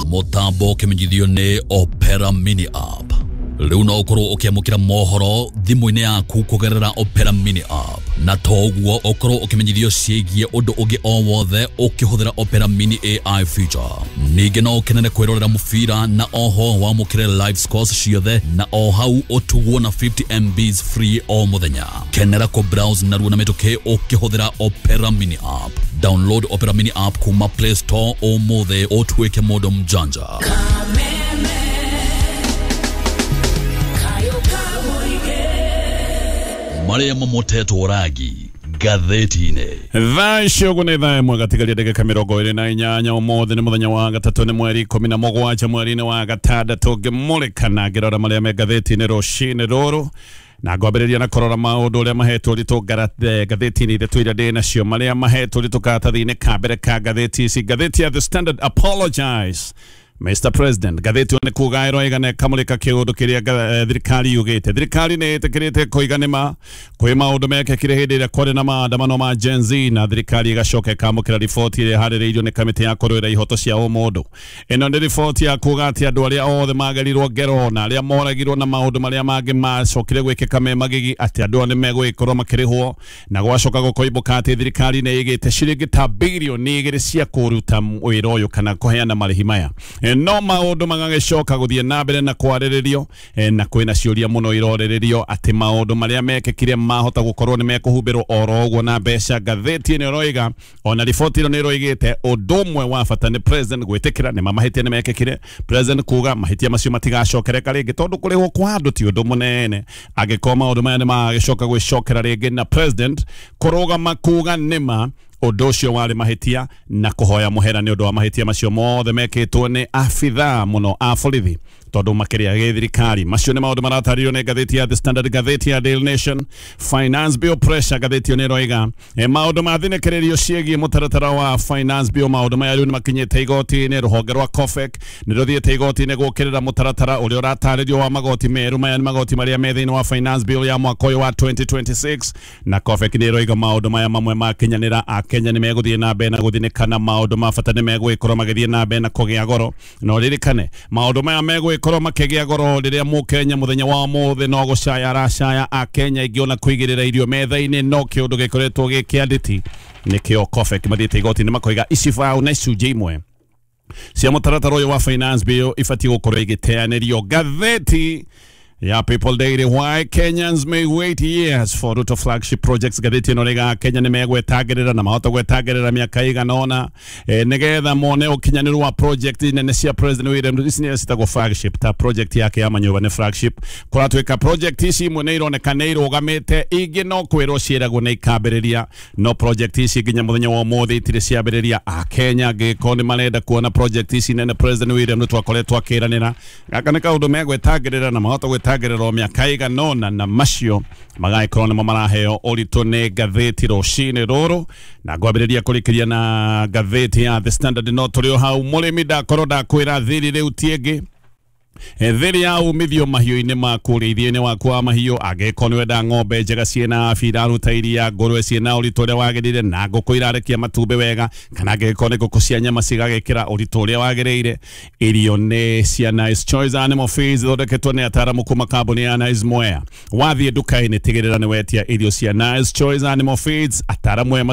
Mũtambo ũkĩmenyithio nĩ Opera Mini App. Rĩu no ũkorwo ũkĩamũkĩra mohoro thimũ-inĩ yaku kũgerera Opera Mini App, na to ũguo ũkorwo ũkĩmenyithio ciĩgiĩ ũndũ ũngĩ o wothe ũkĩhũthĩra Opera Mini AI feature. Ningĩ no ũkenere kwĩrorera mũbira na oho wamũkĩre live scores ciothe na o hau ũtugwo na 50 MBs free o mũthenya. Kenera kũ browse narua na mĩtũkĩ ũkĩhũthĩra Opera Mini App. Download Opera Mini App kuma Play Store ũmũthĩ ũtuĩke mũndũ mjanja. Marĩa mamotetwo rangi ngathĩti-inĩ. Thaa icio ũguo nĩ thaa 1 gatigaria ndagĩka 28. Ũmũthĩ nĩ mũthenya wa gatatũ, nĩ mweri 17 mweri-inĩ wa gatandatũ. Ngĩmũrĩka na ngĩrora marĩa me ngathĩti-inĩ rũcinĩ rũrũ, na ngwambĩrĩria na kũrora maũndũ ũrĩa mahetwo ũritũ ngathĩti-inĩ ithatũ iria ndĩ nacio, marĩa mahetwo ũritũ karatathi-inĩ ka mbere ka ngathĩti ici. Ngathĩti ya The Standard, apologize Mr. President. Ngathĩti ĩyo nĩ kuga ĩroiga na ĩkamũrĩka kĩũndũ kĩrĩa thirikari yugĩte. Thirikari nĩ ĩtĩkĩrĩte kũiga nĩma kwĩ maũndũ mekĩkire hĩndĩ ĩrĩa kwarĩ na maandamano ma Gen Z, na thirikari ĩgacoka ĩkamũkĩra riboti ĩrĩa ĩharĩrĩirio nĩ kamĩtĩ ya kũrũĩra ihoto cia ũmũndũ. Ĩno nĩ riboti ya kuga atĩ andũ arĩa othe magerirwo ngero na arĩa moragirwo na maũndũ marĩa mangĩ macokire gwĩkĩka me magigi, atĩ andũ aya nĩ megũgĩkorwo makĩrĩhwo, na gwacoka gũkoimbũka atĩ thirikari nĩ ĩgĩte ciringi ta birioni 2 cia kũruta wĩra ũyũ kana kũheana marĩhi maya. No maũndũ magagĩcoka gũthiĩ na mbere na kwarĩrĩrio, na kwĩna ciũria mũno irorĩrĩrio atĩ maũndũ marĩa mekĩkire mahota gũkorwo nĩ mekũhumbĩrwo oro ũguo na mbeca. Ngathĩti ĩno ĩroiga ona riboti ĩno nĩ ĩroigĩte ũndũ ũmwe wa bata nĩ president gwĩtĩkĩra nĩ mahĩtia nĩ mekĩkire, president kuga mahĩtia macio matigacokereka rĩngĩ tondũ kũrĩhwo kwa andũ ti ũndũ mũnene angĩkorwo maũndũ maya nĩ magagĩcoka gwĩcokera rĩngĩ, na president kũrũgama kuga nĩma ũndũ ũcio warĩ mahĩtia na kũhoya mũhera nĩ ũndũ wa mahĩtia macio mothe mekĩtwo nĩ abithaa mũno a borithi tondũ makĩria gĩthirikari. Macio nĩ maũndũ maratarĩrio nĩ ngathĩti ya The Standard. Ngathĩti ya Daily Nation, Finance Bill pressure. Ngathĩti ĩyo nĩ ĩroiga maũndũ ma thinĩkĩrĩrio ciĩgiĩ mũtaratara wa Finance Bill. Maũndũ maya rĩu nĩ makinyĩte igoti-inĩ. Rũhonge rwa COFEC nĩ rũthiĩte igoti-inĩ gũkĩrĩra mũtaratara ũrĩa ũratarĩrio wa magoti merũ. Maya nĩ magoti marĩa me thĩinĩ wa Finance Bill ya mwaka ũyũ wa 2026, na COFEC nĩ ĩroiga maũndũ maya mamwe makinyanĩra Akenya nĩ megũthiĩ na mbere na gũthinĩka na maũndũ ma bata nĩ megũgĩkorwo magĩthiĩ na mbere na kũgĩa goro. Na ũririkane maũndũ maya megũgĩkorwo makĩgĩa goro rĩrĩa mũkenya mũthenya wa ũmũthĩ no gũcaya aracaya. Akenya aingĩ ona kũigĩrĩra irio metha-inĩ no kĩũndũ gĩkoretwo gĩ kĩa nditi. Nĩkĩo COFEC mathiĩte igoti-inĩ makoiga icibaũ na icunjĩ imwe cia mũtaratara ũyũ wa Finance Bill ibatiĩ gũkorwo igĩteanĩrio. Ngathĩti ya People Daily, why Kenyans may wait years for Ruto flagship projects. Ngathĩti ĩno rĩga Kenya nĩ megwetangĩrĩra na mahota gwetangĩrĩra mĩaka ĩigana ũna nĩgetha mone ũkinyanĩru wa project nene cia President William Ruto. Ici nĩcio citagwo flagship, ta project yake ya manyũmba nĩ flagship. Kũratuĩka project ici imwe nĩ ironeka nĩ irũgamĩte, ingĩ no kwĩrwo ciĩragwo nĩ ikambĩrĩria, no project ici nginya mũthenya wa ũmũthĩ itirĩ ciambĩrĩria. Akenya angĩkorwo nĩ marenda kuona project ici nene President William Ruto akoretwo akĩranĩra, gaka nĩ kaũndũ megwetangĩrĩra na mahota gwetangĩrĩra mĩaka ĩigana ũna, na macio magagĩkorwo nĩmo maraheo ũritũ nĩ ngathĩti rũcinĩ rũrũ. Na ngwambĩrĩria kũrĩkĩria na ngathĩti ya The Standard. No tũrĩ o hau, mũrĩmi ndakorwo ndakwĩra thiri rĩu ti ĩngĩ, thiri ya umithio mahiũ-inĩ maku, ũrĩithio-inĩ waku wa mahiũ. Angĩkorwo nĩ wenda ng'ombe njega ciĩna afya, iraruta iria, ngũrwe ciĩna ũritũ ũrĩa wagĩrĩire, na ngũkũ irarekia matumbĩ wega, kana angĩkorwo nĩ ngũkũ cia nyama cigagĩkĩra ũritũ ũrĩa wagĩrĩire, irio nĩ cia Nice Choice Animal Feeds, ithondeketwo nĩ ataaramu kuma kambuni ya Nice Mwea. Wathiĩ nduka-inĩ tigĩrĩra nĩ wetia irio cia Nice Choice Animal Feeds. Ataaramu aya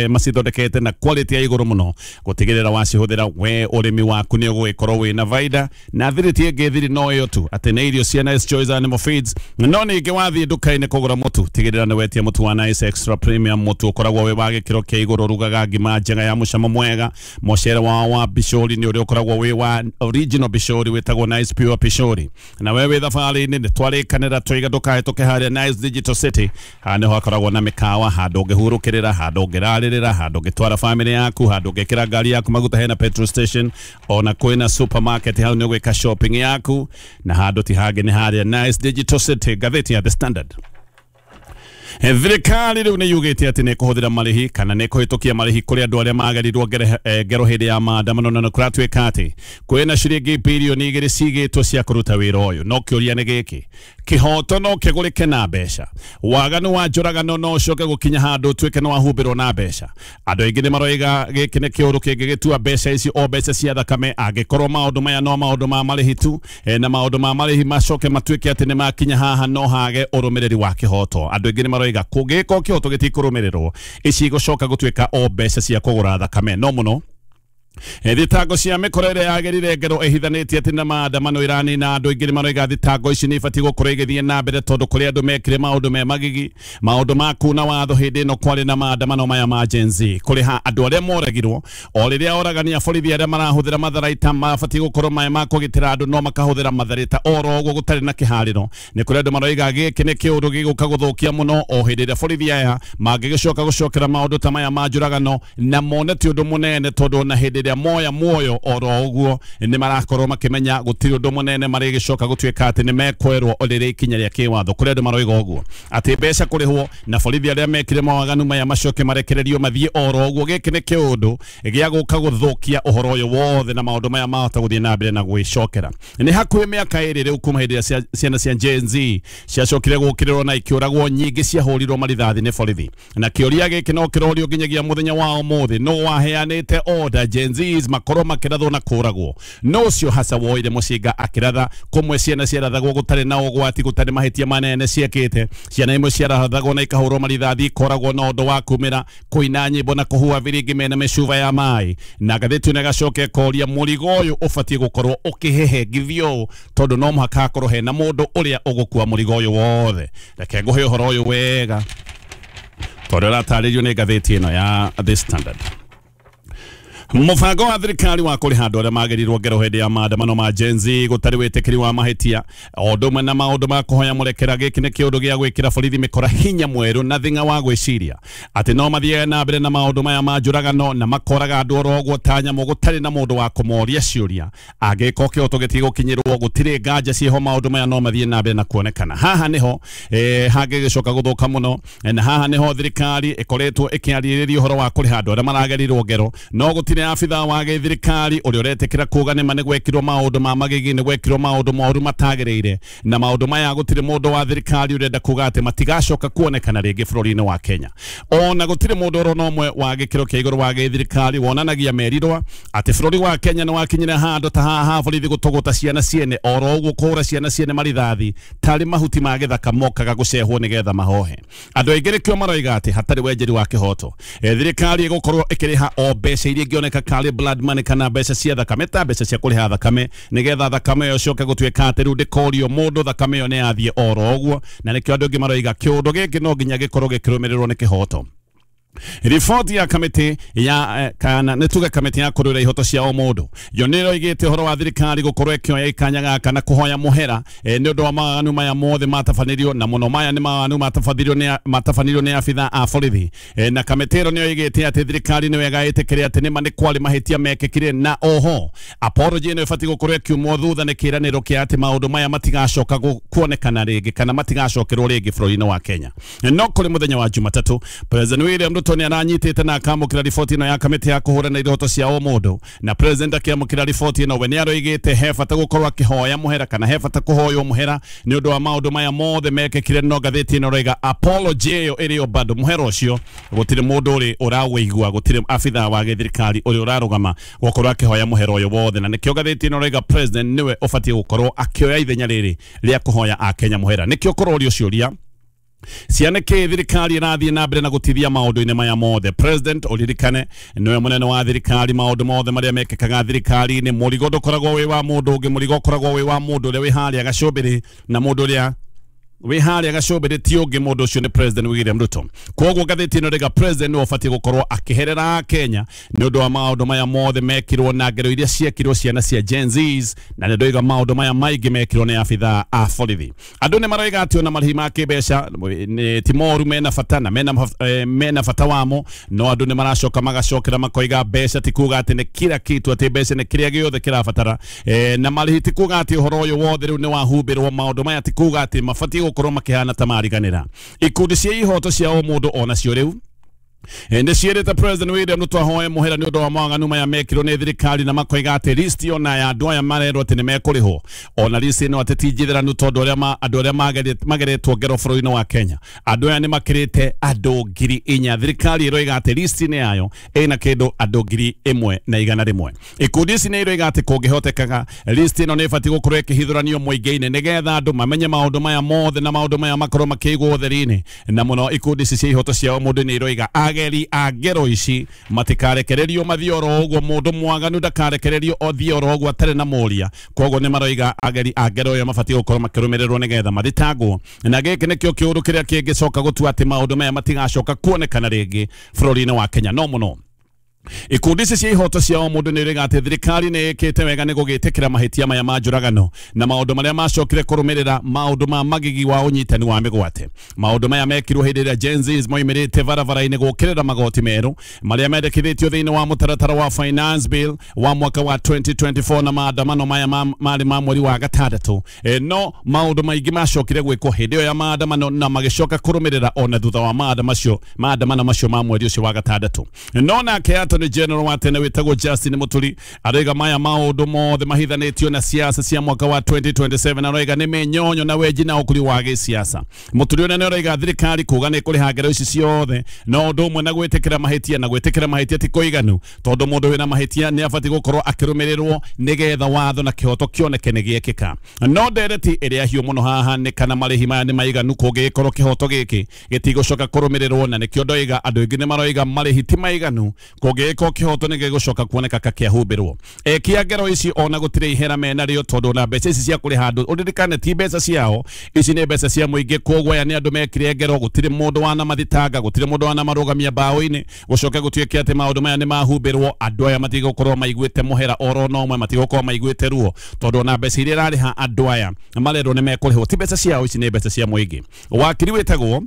macithondekete na quality ya igũrũ mũno gũtigĩrĩra wacihũthĩra we ũrĩmi waku nĩ ũgũgĩkorwo wĩna baida. Na thiri ti ĩngĩ, thiri no ĩyo tu atĩ nĩ irio cia Nice Choice Animal Feeds. No ningĩ wathiĩ nduka-inĩ kũgũra mũtu, tigĩrĩra nĩ wetia mũtu wa Nice Extra Premium, mũtu ũkoragwo wĩ wa gĩkĩro kĩa igũrũ, rugaga ngima njega ya mũcamo mwega. Mũcere wao wa bishori nĩ ũrĩa ũkoragwo wĩ wa original bishori, wĩtagwo Nice Pure Pishori. Na we wĩ thabarĩ-inĩ nĩ twarĩkanĩra twaiga ndũkahĩtũke harĩa Nice Digital City. Haha nĩho hakoragwo na mĩkawa, handũ ũngĩhurũkĩrĩra, handũ ũngĩrarĩrĩra, handũ ũngĩtwara famĩlĩ yaku, handũ ũngĩkĩra ngari yaku maguta, hena petrol station, ona kwĩna supermarket. Hau nĩ ũgwĩka shopping yaku, na handũ ti hangĩ nĩ harĩa Nice Digital City. Ngathĩti ya The Standard. Thirikari rĩu nĩ yugĩte atĩ nĩ ĩkũhũthĩra marĩhi kana nĩ ĩkũhĩtũkia marĩhi kũrĩ andũ arĩa magerirwo ngero hĩndĩ ya maandamano, na nĩ kũratuĩka atĩ kwĩna ciringi birioni 2 cigĩtwo cia kũruta wĩra ũyũ. No kĩũria nĩ gĩkĩ, kĩhoto no kĩgũrĩke na mbeca? Waganu wa njũragano no ũcoke gũkinya handũ ũtuĩke nĩ wahumbĩrwo na mbeca? Andũ aingĩ nĩ maroiga gĩkĩ nĩ kĩũndũ kĩngĩgĩtua mbeca ici o mbeca cia thakame, angĩkorwo maũndũ maya no maũndũ ma marĩhi tu, na maũndũ ma marĩhi macoke matuĩke atĩ nĩ makinya haha no hage ũrũmĩrĩri wa kĩhoto. Andũ aingĩ nĩ maroiga kũngĩgĩkorwo kĩhoto gĩtikũrũmĩrĩrwo, ici igũcoka gũtuĩka o mbeca cia kũgũra thakame. No mũno thitango cia mĩkora ĩrĩa yagĩrire ngero ĩhithanĩtie atĩ na maandamano ĩranina andũ aingĩ nĩ maroiga thitango ici nĩ ibatiĩ gũkorwo igĩthiĩ na mbere, tondũ kũrĩ andũ mekire maũndũ me magigi, maũndũ ma kuna watho hĩndĩ ĩno kwarĩ na maandamano maya ma Gen Z. Kũrĩha andũ arĩa moragirwo o rĩrĩa oragani a borithi arĩa marahũthĩra matharaita mabatiĩ gũkorwo me ma kũgitĩra andũ, no makahũthĩra matharaita oro ũguo gũtarĩ na kĩharĩro. Nĩ kũrĩ andũ maroiga gĩkĩ nĩ kĩũndũ gĩgũka gũthũkia mũno o hĩndĩ ĩrĩa borithi aya mangĩgĩcoka gũcokera maũndũ ta maya ma njũragano na mone ti ũndũ mũnene, tondũ na hĩndĩ ĩrĩa moya muoyo oro ũguo nĩ marakorwo makĩmenya gũtirĩ ũndũ mũnene marĩgĩcoka gũtuĩka atĩ nĩ mekwerwo rĩrĩa ikinya rĩa kĩwatho. Kũrĩ andũ maroiga ũguo atĩ mbeca kũrĩhwo na borithi arĩa mekire mawaganu maya macoke marekererio mathiĩ oro ũguo, gĩkĩ nĩ kĩũndũ gĩa gũka gũthũkia ũhoro ũyũ wothe na maũndũ maya mahota gũthiĩ na mbere na gwĩcokera. Nĩ hakuhĩ mĩaka 2 rĩu kuma hĩndĩ ĩrĩa ciana cia Gen Z ciacokire gũkĩrĩrwo na ikĩũragwo, nyingĩ ciahũrirwo marithathi nĩ borithi, na kĩũria gĩkĩ no kĩrorio nginyagia mũthenya wa ũmũthĩ, nũ waheanĩte order Gen Zs makorwo makĩrathwo na kũragwo? No ũcio hasa woire mũcinga akĩratha kũmwe ciana ciarathagwo gũtarĩ na ũgwati, gũtarĩ mahĩtia manene ciekĩte. Ciana imwe ciarathagwo na ikahũrwo marithathi, ikoragwo na ũndũ wa kumĩra kũina nyĩmbo na kũhuha biringi mena mĩcuba ya maĩ. Na ngathĩti ĩno ĩgacoka ĩkoria mũrigo ũyũ ũbatiĩ gũkorwo ũkĩhehengithio ũũ, tondũ no mũhaka hakorwo hena mũndũ ũrĩa ũgũkua mũrigo ũyũ wothe. Reke ngũhe ũhoro ũyũ wega tondũ ũratarĩrio nĩ ngathĩti ĩno ya The Standard. Mũbango wa thirikari wa kũrĩha andũ arĩa magĩrirwo ngero hĩndĩ ya maandamano ma Gen Z gũtarĩ wĩtĩkĩri wa mahĩtia o ũndũ ũmwe na maũndũ ma kũhoya mũrekera, gĩkĩ nĩ kĩũndũ gĩa gwĩkĩra borithi mĩkora hinya mwerũ na thing'a wa gwĩciria atĩ no mathiage na mbere na maũndũ maya ma njũragano na makoraga andũ oro ũguo ta nyamũ gũtarĩ na mũndũ wa kũmoria ciũria. Angĩkorwo kĩhoto gĩtigũkinyĩrwo, gũtirĩ nganja ciĩho, maũndũ maya no mathiĩ na mbere na kuonekana. Haha nĩho hangĩgĩcoka gũthũka mũno, na haha nĩho thirikari ĩkoretwo ĩkĩarĩrĩria ũhoro wa kũrĩha andũ arĩa maragerirwo ngero, no gũtirĩ abithaa wa gĩthirikari ũrĩa ũretĩkĩra kuga nĩma nĩ gwekirwo maũndũ ma magigi, nĩ gwekirwo maũndũ moru matagĩrĩire, na maũndũ maya gũtirĩ mũndũ wa thirikari ũrenda kuga atĩ matigacoka kuonekana rĩngĩ bũrũri-inĩ wa Kenya. Ona gũtirĩ mũndũ oro na ũmwe wa gĩkĩro kĩa igũrũ wa gĩthirikari wonanagia merirwa atĩ bũrũri wa Kenya nĩ wakinyire handũ ta haha borithi gũtũgũta ciana ciene oro ũguo kũhũra ciana ciene marithathi tarĩ mahuti ma gĩthaka mokaga gũcehwo nĩgetha mahohe. Andũ aingĩ nĩkĩo maroiga atĩ hatarĩ wenjeri wa kĩhoto, thirikari ĩgũkorwo ĩkĩrĩha o mbeca iria ingĩoneka karĩ blood money kana mbeca cia thakame, ta mbeca cia kũrĩha thakame, nĩgetha thakame ĩyo ĩcoke gũtuĩka atĩ rĩu ndĩkorio mũndũ, thakame ĩyo nĩ yathiĩ oro ũguo. Na nĩkĩo andũ aingĩ maroiga kĩũndũ gĩkĩ no nginya gĩkorwo gĩkĩrũmĩrĩrwo nĩ kĩhoto. Riboti ya kamĩtĩ ya kana nĩ tuge kamĩtĩ ya kũrũĩra ihoto cia o mũndũ yo nĩ ĩroigĩte ũhoro wa thirikari gũkorwo ĩkĩoya ikanya gaka na kũhoya mũhera nĩ ũndũ wa mawaganu maya mothe matabanĩrio, na mũno maya nĩ mawaganu matabanĩrio nĩ abithaa a borithi. Na kamĩtĩ ĩno nĩ yoigĩte atĩ thirikari nĩ wega ĩtĩkĩre atĩ nĩma nĩ kwarĩ mahĩtia mekĩkire, na oho apology ĩno ĩbatiĩ gũkorwo ĩkiumwo thutha nĩ kĩĩranĩro kĩa atĩ maũndũ maya matigacoka kuonekana rĩngĩ kana matigacokerwo rĩngĩ bũrũri-inĩ wa Kenya. No kũrĩ mũthenya wa Jumatatũ, President William Ruto nĩ aranyitĩte na akamũkĩra riboti ĩno ya kamĩtĩ ya kũhũrana ihoto cia o mũndũ, na president akĩamũkĩra riboti ĩno we nĩ aroigĩte he bata gũkorwo akĩhoya mũhera kana he bata kũhoywo mũhera nĩ ũndũ wa maũndũ maya mothe mekĩkire. No ngathĩti ĩno ĩroiga apology ĩyo ĩrĩ o bado, mũhera ũcio gũtirĩ mũndũ ũrĩ ũrawĩigua, gũtirĩ abithaa wa gĩthirikari ũrĩa ũrarũgama gũkorwo akĩhoya mũhera ũyũ wothe. Na nĩkĩo ngathĩti ĩno ĩroiga president nĩwe ũbatiĩ gũkorwo akĩoya ithenya rĩrĩ rĩa kũhoya akenya mũhera. Nĩkĩo kũrorio ciũria ciana kĩ thirikari ĩrathiĩ na mbere na gũtithia maũndũ-inĩ maya mothe. President ũririkane nĩwe mũnene wa thirikari, maũndũ mothe marĩa mekĩkaga thirikari-inĩ, mũrigo ndũkoragwo wĩ wa mũndũ ũngĩ, mũrigo ũkoragwo wĩ wa mũndũ ũrĩa wĩ harĩa gacũmbĩrĩ, na mũndũ ũrĩa wĩ harĩa gacũmbĩrĩ ti ũngĩ, mũndũ ũcio nĩ President William Ruto. Koguo ngathĩti ĩno ĩrauga president nĩwe ũbatiĩ gũkorwo akĩherera Kenya nĩ ũndũ wa maũndũ maya mothe mekirwo na ngero iria ciekirwo ciana cia Gen Zs, na nĩ ndoiga maũndũ maya maingĩ mekirwo nĩ abithaa a borithi. Andũ nĩ maroiga atĩ ona marĩhi ma kĩmbeca ti moru, mena bata na mena bata wamo, no andũ nĩ maracoka magacokera makoiga mbeca ti kuga atĩ nĩ kila kitu, atĩ mbeca nĩ kĩrĩa gĩothe kĩrabatara, na marĩhi ti kuga atĩ ũhoro ũyũ wothe rĩu nĩ wahumbĩrwo. Maũndũ maya ti kuga atĩ mabatiĩ gũkorwo makĩhana ta mariganĩra. Ikundi cia ihoto cia o mũndũ ona cio rĩu nĩ ciĩrĩte President William Ruto ahoe mũhera nĩ ũndũ wa mawaganu maya mekirwo nĩ thirikari, na makoiga atĩ list ona ya andũ aya marerwo atĩ nĩ mekũrĩhwo, ona list ĩno atĩ ti njitheranu tondũ andũ arĩa mageretwo ngero bũrũri-inĩ wa Kenya andũ aya nĩ makĩrĩte andũ 4,000. Thirikari ĩroiga atĩ list-inĩ yayo ĩna kĩndũ andũ 1,100. Ikundi ici nĩ iroiga atĩ kũngĩhotekaga list ĩno nĩ ĩbatiĩ gũkorwo ĩkĩhithũranio mũingĩ-inĩ nĩgetha andũ mamenye maũndũ maya mothe na maũndũ maya makorwo makĩigwo ũtheri-inĩ. Na mũno ikundi ici cia ihoto cia mũndũ nĩ iroiga ageri a ngero ici matikarekererio mathiĩ oro ũguo, mũndũ mwaganu ndakarekererio othiĩ oro ũguo atarĩ na mũria. Koguo nĩ maroiga ageri a ngero ĩyo mabatiĩ gũkorwo makĩrũmĩrĩrwo nĩgetha mathitangwo, na gĩkĩ nĩkĩo kĩũndũ kĩrĩa kĩngĩcoka gũtua atĩ maũndũ maya matigacoka kuonekana rĩngĩ bũrũri-inĩ wa Kenya. No mũno ikundi ici cia ihoto cia o mũndũ nĩ iroiga atĩ thirikari nĩ ĩkĩte wega nĩ gũgĩtĩkĩra mahĩtia maya ma njũragano na maũndũ marĩa macokire kũrũmĩrĩra maũndũ ma magigi wa ũnyitani wa mĩgwate. Maũndũ maya mekirwo hĩndĩ ĩrĩa Gen Zs moimĩrĩte barabara-inĩ gũkĩrĩra magoti merũ marĩa mendekithĩtio thĩinĩ wa mũtaratara wa Finance Bill wa mwaka wa 2024 na maandamano maya marĩ ma mweri wa gatandatũ. No maũndũ maingĩ macokire gwĩkwo hĩndĩ ĩyo ya maandamano na magĩcoka kũrũmĩrĩra ona thutha wa maandamano macio ma mweri ũcio wa gatandatũ. No nake Attorney General wa tene wĩtagwo Justin Muturi aroiga maya maũndũ mothe mahithanĩtio na siasa cia mwaka wa 2027, aroiga nĩ mĩnyonyo na wenji na ũkũri wa gĩsiasa. Muturi ũrĩa nĩ aroiga thirikari kuga nĩ kũrĩha ngero ici ciothe no ũndũ ũmwe na gwĩtĩkĩra mahĩtia, na gwĩtĩkĩra mahĩtia ti kũiganu tondũ mũndũ wĩna mahĩtia nĩ abatiĩ gũkorwo akĩrũmĩrĩrwo nĩgetha watho na kĩhoto kĩoneke nĩ gĩekĩka. No ndereti ĩrĩa hiũ mũno haha nĩ kana marĩhi maya nĩ maiganu kũngĩgĩkorwo kĩhoto gĩkĩ gĩtigũcoka kũrũmĩrĩrwo, na nĩkĩo ndoiga andũ aingĩ nĩ maroiga marĩhi ti maiganu kũngĩgĩkorwo kĩhoto nĩ gĩgũcoka kuoneka kakĩahumbĩrwo. Ekia ngero ici ona gũtirĩ ihera menarĩo tondũ na mbeca ici cia kũrĩha andũ ũririkane ti mbeca ciao, ici nĩ mbeca cia mũingĩ, koguo aya nĩ andũ mekire ngero, gũtirĩ mũndũ wanamathitanga, gũtirĩ mũndũ wanamarũgamia mbaũ-inĩ, gũcoke gũtuĩke atĩ maũndũ maya nĩ mahumbĩrwo, andũ aya matigũkorwo maiguĩte mũhera oro na ũmwe, matigũkorwo maiguĩte ruo tondũ ona mbeca iria irarĩha andũ aya marerwo nĩ mekũrĩhwo ti mbeca ciao, ici nĩ mbeca cia mũingĩ. Wakiri wĩtagwo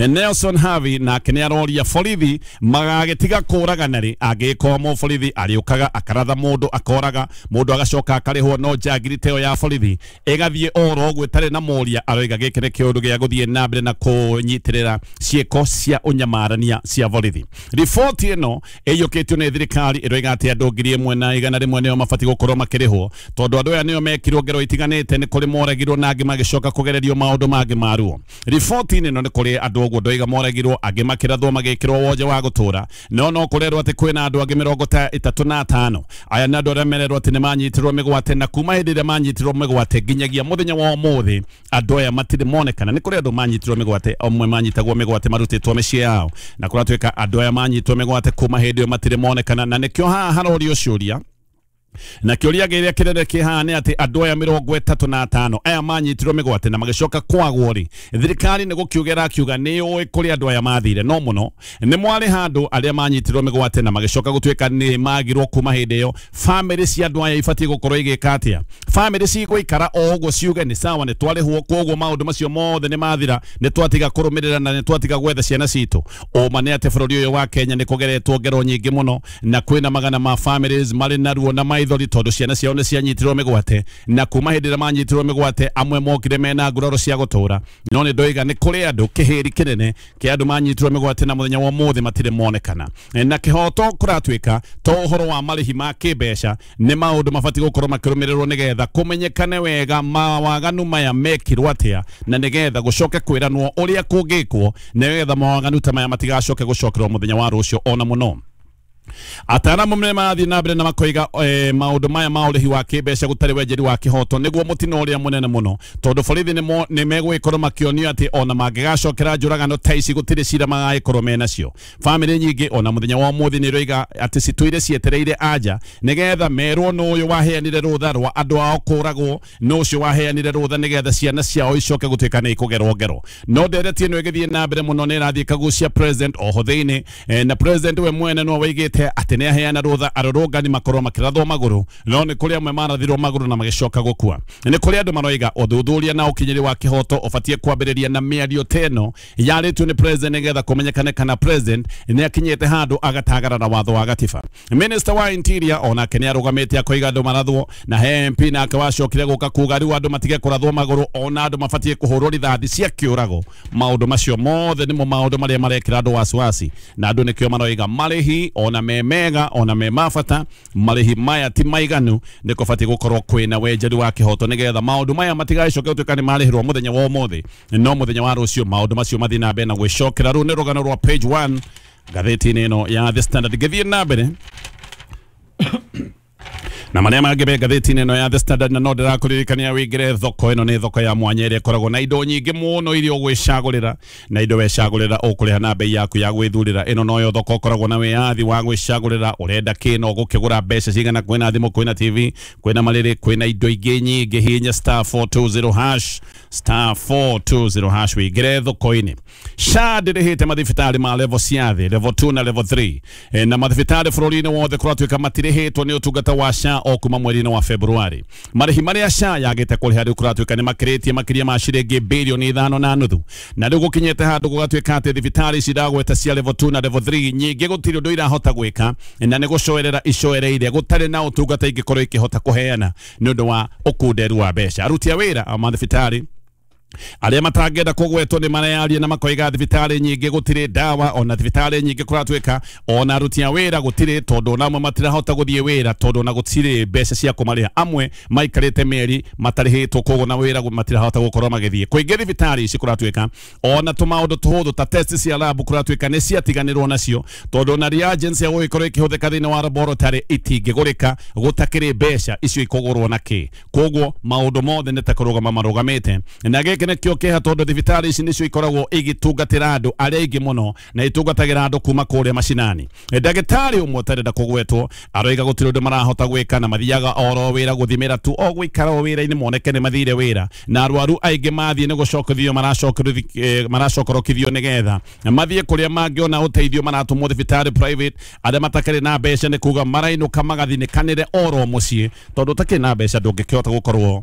Nelson Harvey nake nĩ aroria borithi magagĩtiga kũragana rĩ, angĩgĩkorwo mũborithi arĩũkaga akaratha mũndũ akoraga mũndũ agacoka akarĩhwo, no njangiri ta ĩyo ya borithi ĩgathiĩ oro ũguo ĩtarĩ na mũria, aroiga gĩkĩ nĩ kĩũndũ gĩa gũthiĩ na mbere na kũnyitĩrĩra ciĩko cia ũnyamarania cia borithi. Riboti ĩno ĩiyũkĩtio nĩ thirikari ĩroiga atĩ andũ 1,100 nĩo mabatiĩ gũkorwo makĩrĩhwo tondũ andũ aya nĩo mekirwo ngero itiganĩte, nĩ kũrĩ moragirwo na angĩ magĩcoka kũgererio maũndũ mangĩ ma ruo. Riboti-inĩ ĩno nĩ kũrĩ andũ ũguo ndoiga moragirwo, angĩ makĩrathwo magĩkĩrwo wonje wa gũtũra, no no kũrerwo atĩ kwĩna andũ angĩ 35. Aya nĩ andũ arĩa mererwo atĩ nĩ manyitirwo mĩgwate, na kuma hĩndĩ ĩrĩa manyitirwo mĩgwate nginyagia mũthenya wa ũmũthĩ andũ aya matirĩ monekana. Nĩ kũrĩ andũ manyitirwo mĩgwate, amwe manyitagwo mĩgwate marutĩtwo mĩciĩ yao, na kũratuĩka andũ aya manyitwo mĩgwate kuma hĩndĩ ĩyo matirĩ monekana, na nĩkĩo haha harorio ciũria. Na kĩũria kĩrĩa kĩnene kĩhaha nĩ atĩ andũ aya 35 aya manyitirwo mĩgwate na magĩcoka kwagwo rĩ, thirikari nĩ gũkiuga ĩrakiuga nĩ yũĩ kũrĩa andũ aya mathire, no mũno nĩ mwarĩha andũ arĩa manyitirwo mĩgwate na magĩcoka gũtuĩka nĩ magirwo kuma hĩndĩ ĩyo. Bamĩrĩ cia andũ aya ibatiĩ gũkorwo igĩka atĩa? Bamĩrĩ cigũikara o ũguo ciuge nĩ sawa nĩ twarĩhwo, koguo maũndũ macio mothe nĩ mathira, nĩ twatiga kũrũmĩrĩra na nĩ twatiga gwetha ciana citũ. Ũma nĩ atĩ bũrũri ũyũ wa Kenya nĩ kũgeretwo ngero nyingĩ mũno na kwĩna magana ma families marĩ na ruo na maithori tondũ ciana ciao nĩ cianyitirwo mĩgwate, na kuma hĩndĩ ĩrĩa manyitirwo mĩgwate amwe mokire mena nguraro cia gũtũra, no nĩ ndoiga nĩ kũrĩ andũ kĩhĩri kĩnene kĩa andũ manyitirwo mĩgwate na mũthenya wa ũmũthĩ matirĩ monekana. Na kĩhoto kũratuĩka to ũhoro wa marĩhi ma kĩmbeca, nĩ maũndũ mabatiĩ gũkorwo makĩrũmĩrĩrwo nĩgetha kũmenyekane wega mawaganu maya mekirwo atĩa, na nĩgetha gũcoke kwĩranwo ũrĩa kũngĩkwo nĩgetha mawaganu ta maya matigacoke gũcokerwo mũthenya wa rũciũ ona mũno. Ataaramu nĩ marathiĩ na mbere na makoiga maũndũ maya ma ũrĩhi wa kĩmbeca gũtarĩ wenjeri wa kĩhoto nĩguo mũtino ũrĩa mũnene mũno, tondũ borithi nĩ megũgĩkorwo makĩonio atĩ ona mangĩgacokera njũragano ta ici gũtirĩ cira magagĩkorwo menacio. Bamĩrĩ nyingĩ ona mũthenya wa ũmũthĩ nĩ iroiga atĩ citũire cietereire anja nĩgetha merwo nũ ũyũ waheanire rũtha rwa andũ ao kũragwo, nũ ũcio waheanire rũtha nĩgetha ciana ciao icoke gũtuĩka nĩ ikũgerwo ngero. No ndereti ĩno ĩgĩthiĩ na mbere mũno nĩ ĩrathiĩ ĩkagucia president oho thĩinĩ, na president we mwene no waigĩte augite atĩ nĩ aheana rũtha arũrũngani makorwo makĩrathwo magũrũ, no nĩ kũrĩ amwe marathirwo magũrũ na magĩcoka gũkua. Nĩ kũrĩ andũ maroiga ũthuthuria na ũkinyĩri wa kĩhoto ũbatiĩ kwambĩrĩria na mĩario ta ĩno yarĩtio nĩ president nĩgetha kũmenyekane kana president nĩ akinyĩte handũ agatagarara watho wa gatiba. Minister wa Interior onake nĩ arũgamĩte akoiga andũ marathwo, na he MP nake wacokire gũka kuga rĩu andũ matige kũrathwo magũrũ, ona andũ mabatiĩ kũhũrwo rithathi cia kĩũrago. Maũndũ macio mothe nĩmo maũndũ marĩa marekĩra andũ wasiwasi, na andũ nĩkĩo maroiga marĩhi ona me mega ona me mabata, marĩhi maya ti maiganu, nĩ kũbatiĩ gũkorwo kwĩna wenjeru wa kĩhoto nĩgetha maũndũ maya matigacoke gũtuĩka nĩ marĩhĩrwo mũthenya wa ũmũthĩ, no mũthenya wa rũciũ maũndũ macio mathiĩ na mbere na gwĩcokera. Rũu nĩ rũgano rwa page 1 ngathĩti-inĩ ĩno ya The Standard. Ngĩthiĩ na mbere na marĩa mangĩ me ngathĩti-inĩ ĩno ya The Standard, na no ndĩrakũririkania wĩingĩre thoko ĩno. Nĩ thoko ya mwanya ĩrĩa ĩkoragwo na indo nyingĩ mũno iria ũgwĩcagũrĩra, na indo wecagũrĩra ũkũrĩha na bei yaku ya gwĩthurĩra. Ĩno noyo thoko ũkoragwo na wĩyathi wa gwĩcagũrĩra ũrenda kĩ na ũgũkĩgũra mbeca cigana. Kwĩna thimũ, kwĩna TV, kwĩna marĩrĩ, kwĩna indo ingĩ nyingĩ. Hihinya star 420 hash, star 420 hash wĩingĩre thoko-inĩ. SHA ndĩrĩhĩte mathibitarĩ ma level cia thĩ, level 2 na level 3, na mathibitarĩ bũrũri-inĩ wothe kũratuĩka matirĩhĩtwo nĩ ũtungata wa SHA o kuma mweri-inĩ wa Februari. Marĩhi marĩa SHA yagĩte kũrĩha rĩu kũratuĩka nĩ makĩrĩtie makĩria ma ciringi bilioni 5.5, na rĩu gũkinyĩte handũ gũgatuĩka atĩ thibitarĩ ici ndagweta cia level 2 na level 3 nyingĩ gũtirĩ ũndũ irahota gwĩka, na nĩ gũcoerera icoereire gũtarĩ na ũtungata ingĩkorwo ikĩhota kũheana nĩ ũndũ wa ũkunderu wa mbeca. Aruti a wĩra a mathibitarĩ arĩa matangĩenda kũgwetwo nĩ mareyaria na makoiga thibitarĩ nyingĩ gũtirĩ ndawa, ona thibitarĩ nyingĩ kũratuĩka ona aruti a wĩra gũtirĩ, tondũ ona amwe matirahota gũthiĩ wĩra tondũ ona gũtirĩ mbeca cia kũmarĩha. Amwe maikarĩte mĩeri matarĩhĩtwo, koguo na wĩra matirahota gũkorwo magĩthiĩ. Kũingĩ thibitarĩ ici kũratuĩka ona tũmaũndũ tũhũthũ ta test cia lab kũratuĩka nĩ ciatiganĩrwo nacio, tondũ ona reagents cia gũgĩkorwo ikĩhũthĩka thĩinĩ wa laboratory itingĩgũrĩka gũtakĩrĩ mbeca icio ikũgũrwo na kĩ. Koguo maũndũ mothe nĩ ta kũrũgama marũgamĩte, na gĩkĩ nĩkĩo kĩeha tondũ thibitarĩ ici nĩcio ikoragwo igĩtungatĩra andũ arĩa aingĩ mũno na itungatagĩra andũ kuma kũrĩa macinani. Ndagĩtarĩ ũmwe ũtarenda kũgwetwo aroiga gũtirĩ ũndũ marahota gwĩka na mathiaga oro wĩra gũthimĩra tu, o gũikara o wĩra-inĩ moneke nĩ mathire wĩra, na arwaru aingĩ mathiĩ nĩ gũcokithio maracokorokithio nĩgetha mathiĩ kũrĩa mangĩona ũteithio, maratũmwo thibitarĩ private. Arĩa matakĩrĩ na mbeca nĩ kuga marainũka magathinĩkanĩre oro mũciĩ, tondũ ũtakĩrĩ na mbeca ndũngĩkĩhota gũkorwo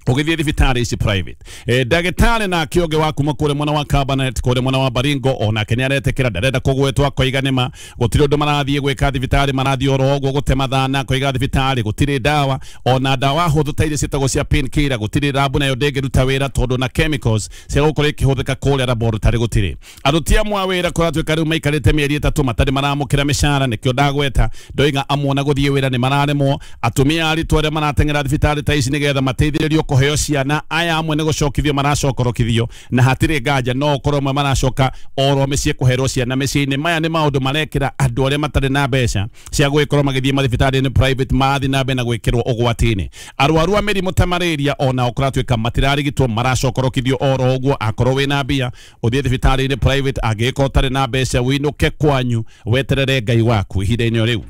ũgĩthiĩ thibitarĩ ici private. Ndagĩtarĩ nake ũngĩ wa kuma kũrĩa mwena wa Kabarnet, kũrĩa mwena wa Baringo, onake nĩ aretĩkĩra, ndarenda kũgwetwo, akoiga nĩma gũtirĩ ũndũ marathiĩ gwĩka thibitarĩ, marathiĩ oro ũguo gũte mathana. Akoiga thibitarĩ gũtirĩ ndawa, ona ndawa hũthũ ta iria ciĩtagwo cia painkiller gũtirĩ, rabu nayo ndĩngĩruta wĩra tondũ na chemicals cia gũkorwo ikĩhũthĩka kũrĩa laboratory gũtirĩ. Aruti amwe a wĩra kũratuĩka rĩu maikarĩte mĩeri 3 matarĩ maramũkĩra mĩcara, nĩkĩo ndagweta ndoiga amwe ona gũthiĩ wĩra nĩ mararemwo. Atumia aritũ arĩa marateng'era thibitarĩ ta ici nĩgetha mateithĩrĩrio kũheo ciana, aya amwe nĩ gũcokithio maracokorokithio, na hatirĩ nganja no ũkorwo amwe maracoka oro mĩciĩ kũherwo ciana mĩciĩ-inĩ. Maya nĩ maũndũ marekĩra andũ arĩa matarĩ na mbeca cia gũgĩkorwo magĩthiĩ mathibitarĩ-inĩ private marathiĩ na mbere na gwĩkĩrwo ũgwati-inĩ. Arwaru a mĩrimũ ta malaria onao kũratuĩka matirarigitwo, maracokorokithio oro ũguo. Akorwo wĩna mbia ũthiĩ thibitarĩ-inĩ private, angĩgĩkorwo ũtarĩ na mbeca wĩinũke kwanyu weterere Ngai waku ihinda-inĩ o rĩu.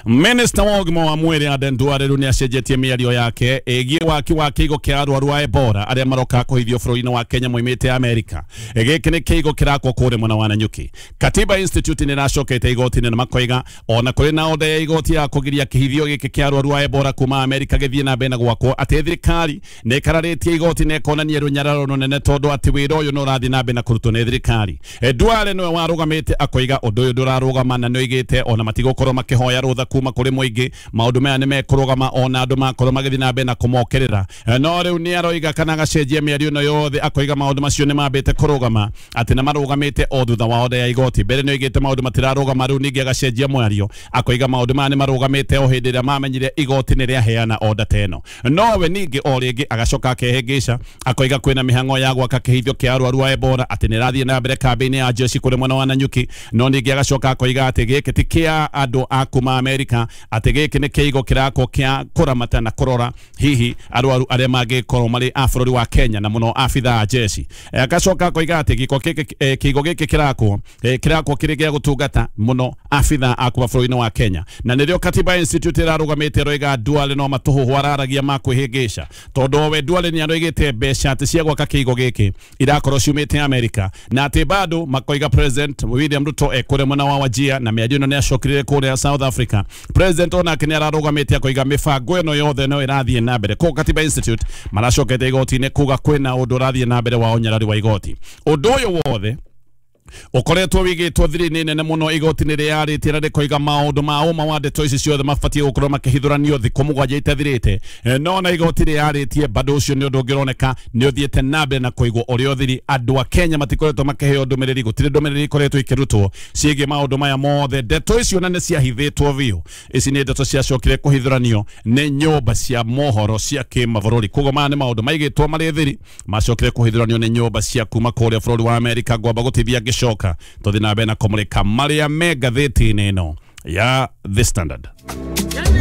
Minister wa ũgima wa mwĩrĩ Aden Duale rĩu nĩacenjetie mĩario yake ĩgiĩ waki wa kĩigo kĩa arwaru a Ebola arĩa maroka kũhithio bũrũri-inĩ wa Kenya moimĩte Amerika. Gĩkĩ nĩ kĩigo kĩrakwo kũrĩa mwena wa Nanyuki. Katiba Institute nĩ ĩracokete igoti-inĩ na makoiga ona kũrĩ na order ya igoti ya kũgiria kĩhithio gĩkĩ kĩa arwaru a Ebola kuma Amerika gĩthiĩ na mbere na gwakwo, atĩ thirikari nĩ ĩkararĩtie igoti na ĩkonania rũnyararo rũnene tondũ atĩ wĩra ũyũ nĩ ũrathiĩ na mbere na kũrutwo nĩ thirikari. Duale nĩwe warũgamĩte akoiga ũndũ ũyũ ndũrarũgama, na nĩoigĩte ona matigũkorwo makĩhoya rũtha kuma kũrĩ mũingĩ, maũndũ maya nĩ mekũrũgama ona andũ makorwo magĩthiĩ na mbere na kũmokĩrĩra. No rĩu nĩ aroiga kana agacenjia mĩario ĩno yothe, akoiga maũndũ macio nĩ mambĩte kũrũgama, atĩ na marũgamĩte o thutha wa order ya igoti. Mbere nĩ oigĩte maũndũ matirarũgama, rĩu ningĩ agacenjia mwario akoiga maũndũ maya nĩ marũgamĩte o hĩndĩ ĩrĩa mamenyire igoti nĩ rĩaheana order ta ĩno. Nowe ningĩ o rĩngĩ agacoka akehĩngĩca akoiga kwĩna mĩhang'o ya gwaka kĩhithio kĩa arwaru a Ebola, atĩ nĩ ĩrathiĩ na mbere kambĩ-inĩ ya jeshi kũrĩ mwena wa Nanyuki. No ningĩ agacoka akoiga atĩ gĩkĩ ti kĩa andũ a kuma wa Amerika atĩ gĩkĩ nĩ kĩigo kĩrakwo kĩa kũramata na kũrora hihi arwaru arĩa mangĩkorwo marĩ a bũrũri wa Kenya na mũno abithaa a jeshi. Agacoka akoiga atĩ kĩigo gĩkĩ kĩrakwo kĩrĩ gĩa gũtungata mũno abithaa a kuma bũrũri-inĩ wa Kenya. Na nĩrĩo Katiba Institute ĩrarũgamĩte ĩroiga Duale no matũhũhũ araragia ma kwĩhĩngĩca, tondũ we Duale nĩ aroigĩte mbeca atĩ cia gwaka kĩigo gĩkĩ irakorwo ciumĩte Amerika, na atĩ bado makoiga President William Ruto ekũrĩa mwena wa Wajir, na mĩario ĩno nĩ acokire kũrĩa South Africa. President onake nĩ ararũgamĩte akoiga mĩbango ĩno yothe no ĩrathiĩ na mbere. Koguo Katiba Institute maracokete igoti-inĩ kuga kwĩna ũndũ ũrathiĩ na mbere wa ũnyarari wa igoti. Ũndũ ũyũ wothe ũkoretwo wigĩtwo thiri-inĩ nene mũno igoti-inĩ rĩarĩtie na rĩkoiga maũndũ ma ũma wa ndeto ici ciothe mabatiĩ gũkorwo makĩhithũranio thikũ 7 itathirĩte. No na igoti rĩarĩtie bado ũcio nĩ ũndũ ũngĩroneka nĩ ũthiĩte na mbere na kũigwo ũrĩa ũthiri. Andũ a Kenya matikoretwo makĩheo ndũmĩrĩri, gũtirĩ ndũmĩrĩri ikoretwo ikĩrutwo ciĩgiĩ maũndũ maya mothe. Ndeto icio na nĩ ciahithĩtwo biũ, ici nĩ ndeto ciacokire kũhithũranio nĩ nyũmba cia mohoro cia kĩmabũrũri. Koguo maya nĩ maũndũ maigĩtwo marĩ thiri, macokire kũhithũranio nĩ nyũmba cia kuma kũrĩa bũrũri wa Amerika. Ngwamba gũtithia ngĩcoka tũthiĩ na mbere na kũmũrĩka marĩa me ngathĩti-inĩ ĩno ya The Standard.